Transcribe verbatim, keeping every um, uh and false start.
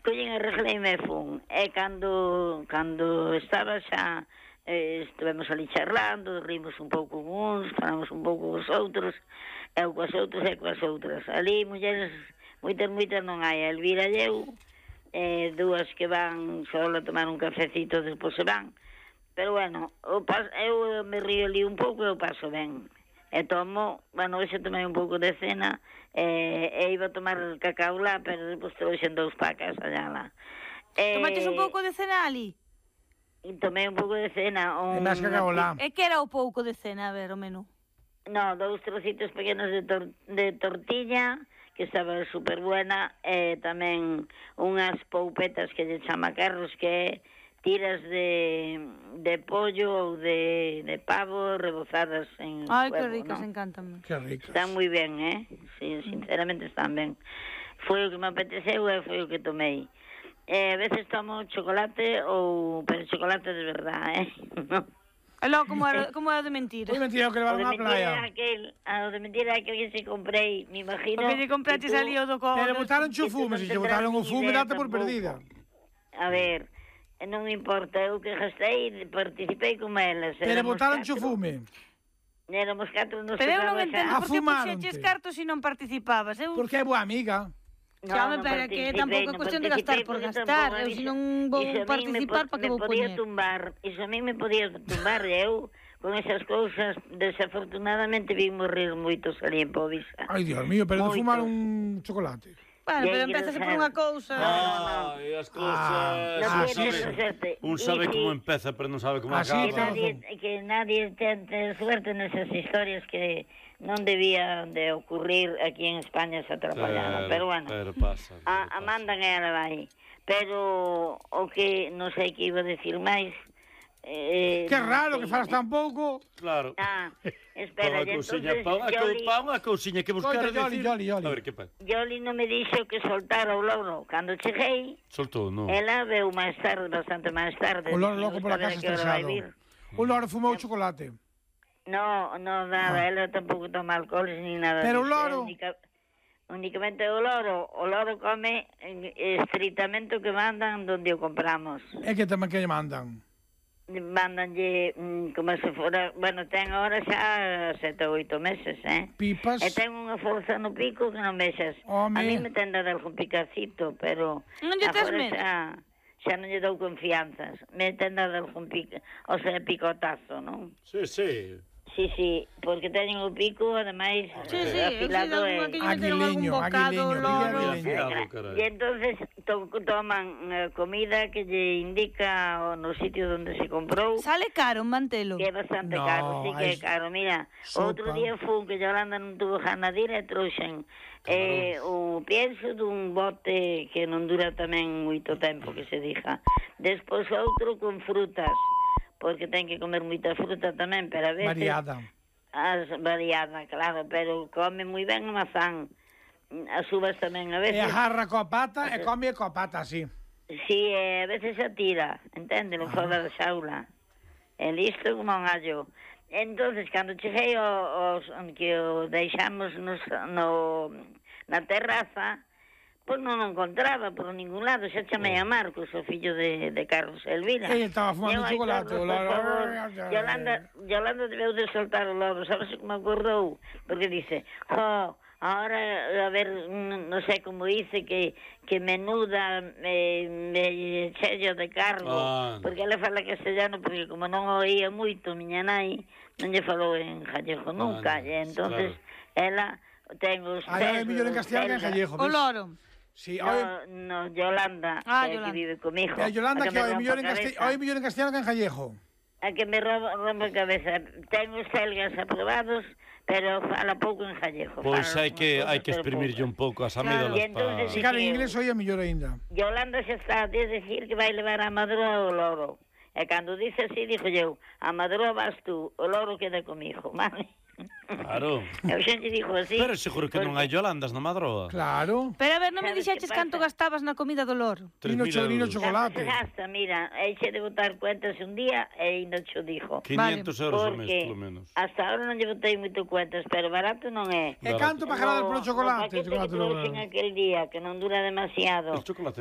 collín e arregleime e fun. E cando, cando estaba xa, eh, estivemos ali charlando, rimos un pouco con uns, falamos un pouco cos outros, eu coas outros e coas outras. Ali, mulleres, moitas, moitas non hai. Elvira e eu, eh, dúas que van só a tomar un cafecito, despois se van. Pero, bueno, eu, paso, eu me río ali un pouco e eu paso ben. E tomo, bueno, hoxe tomei un pouco de cena, e, e iba a tomar cacao lá, pero depois trouxen dous pacas allá lá. E, Tomaches un pouco de cena ali? E tomei un pouco de cena. Un, E máis cacao lá. E que era o pouco de cena, a ver, o menú? No, dous trocitos pequenos de, tor de tortilla, que estaba super buena, e tamén unhas poupetas que lle chama Carlos, que é tiras de, de pollo ou de, de pavo rebozadas en Ai, huevo, que ricas, ¿no? encántame. Que ricas. Están moi ben, eh? Sí, sinceramente están ben. Foi o que me apeteceu e foi o que tomei. Eh, a veces tomo chocolate ou... pero chocolate de verdad, eh? No. E logo, como era, como era de mentira? Foi mentira que O levaron de á mentira playa. aquel, ah, o de mentira aquel que se comprei, me imagino... Porque lle compraches ali o do co... Pero botaron que cho tú fume, non se lle tendrás botaron o nin fume, idea date por tampouco. perdida. A ver, non importa, eu que gastei, participei con elas. Pero éramos botaron cho catro. fume. Éramos catro nos Pero eu non tocaba entendo xa. por que Afumáronte. puxeches cartos se non participabas. Eu... Porque é boa amiga. No, Xa, non pero que participei, tampouco é non cuestión de gastar participei por porque gastar. tampouco Eu iso- se non vou iso a min participar, me, para que me vou podía poñer? tumbar, iso a mí me podía tumbar, e eu con esas cousas desafortunadamente vin morrer moitos ali en Povisa. Ai, Dios mío, pero de Moitos. fumar un chocolate. Bueno, pero E aí, empezase por Rafael. unha cousa. Ai, as cousas... Non Ah, un tiene sí, sabe, sí. suerte. un sabe Y como sí. empeza, pero non sabe como Ah, sí, Que acaba. nadie, que nadie tente suerte nesas historias que non debían de ocurrir aquí en España esa atrapallada, pero bueno, Pero pasa. a, pero a pasa. mandan e ela vai. Pero o que non sei que iba a decir máis. Eh, Que non raro sei. que falas tan pouco. Claro. Ah, espera, Pon a e cousiña, entonces pon a, cou, Yoli, pon a cousiña que buscar Escoita, Yoli, decir... Yoli, Yoli. A ver, que pasa? Yoli non me dixo que soltara o loro. Cando cheguei, Soltou, non? ela veu máis tarde, bastante máis tarde. O loro Me loco gusta pola ver casa a que hora vai estresado. vir. O loro fumou chocolate. No, no, nada, ela tampouco toma alcoholes ni nada. Pero o disso, loro? é única- Únicamente o loro, o loro come eh, estritamente o que mandan donde o compramos. É que tamén que lle mandan. Mandanlle mm, como se fora, bueno, ten agora xa sete ou oito meses, eh? Pipas. E ten unha forza no pico que non vexas. Home. A mí me ten dado algún picacito, pero Non lle tes agora medo? xa, xa non lle dou confianzas. Me ten dado algún pico, o sea, picotazo, non? Sí, sí. Sí, sí, porque teñen o pico, ademais, Sí, sí, eu sei de afilado algunha e... que lle meteron algún Aguileño, bocado, aguileño, loro... pilla Afiado, carai. E entonces to toman eh, comida que lle indica o no sitio onde se comprou, Sale caro un mantelo. que é bastante No, caro, sí que é hai caro. Mira, sopa. outro día fun que Yolanda non tuvo gana de ir e trouxen eh, o pienso dun bote que non dura tamén moito tempo, que se dixa. Despois outro con frutas, porque ten que comer moita fruta tamén, pero a veces... Variada. As variada, claro, pero come moi ben a mazán. As uvas tamén a E veces... agarra coa pata e come coa pata así. Sí, e a veces se tira, entende, no fora da xaula. É listo como un gallo. Entonces, cando cheguei os, que o deixamos nos, no, na terraza, pois non o encontraba por ningún lado. Xa chamei a Marcos, o fillo de, de Carlos Elvira. Ella estaba fumando Eu, ai, chocolate, Carlos, o loro. por favor, Yolanda, Yolanda debeu de soltar o loro, sabes que me acordou? Porque dice, oh, ahora, a ver, non sei como dice, que, que menuda me, me chello de cargo, Ah. porque ela fala castellano, porque como non oía moito, miña nai, non lle falou en gallego nunca, Ah, e entonces ela ten os Ai, é mellor en castellano que en gallego. O ves? loro. Sí, oi, No, no, Yolanda, Ah, que, Yolanda. que vive comigo. e a Yolanda a que me oi mellor en rompa a castellano, cabeza. oi mellor en castellano que en gallego. A que me rompa, rompa a cabeza. Ten os selgas aprobados, pero fala pouco en gallego. Pois Fala hai que unhas hai cousas, que pero exprimirlle poucas. un pouco as Claro, amígdalas e entonces para... Se cara en inglés oía mellor aínda. Yolanda xa está a decir que vai levar a madroa o loro. E cando dice así, dixo eu, a madroa vas tú, o loro queda comigo, vale? Claro. Eu xa te dixo así. Pero seguro que non hai Yolandas na Madroa. Claro. Pero a ver, non me Sabes dixeches que canto pasa? gastabas na comida do loro. Tres Nino mil cho- nino euros. chocolate. Se gasta, mira, eixe de botar cuentas un día e ainda cho dixo. quinientos euros ao mes, Porque polo menos. hasta ahora non lle botei moito cuentas, pero barato non é. E canto pajarades polo chocolate? No paquete que Chocolate, trouxen no, aquel día, que non dura demasiado. El chocolate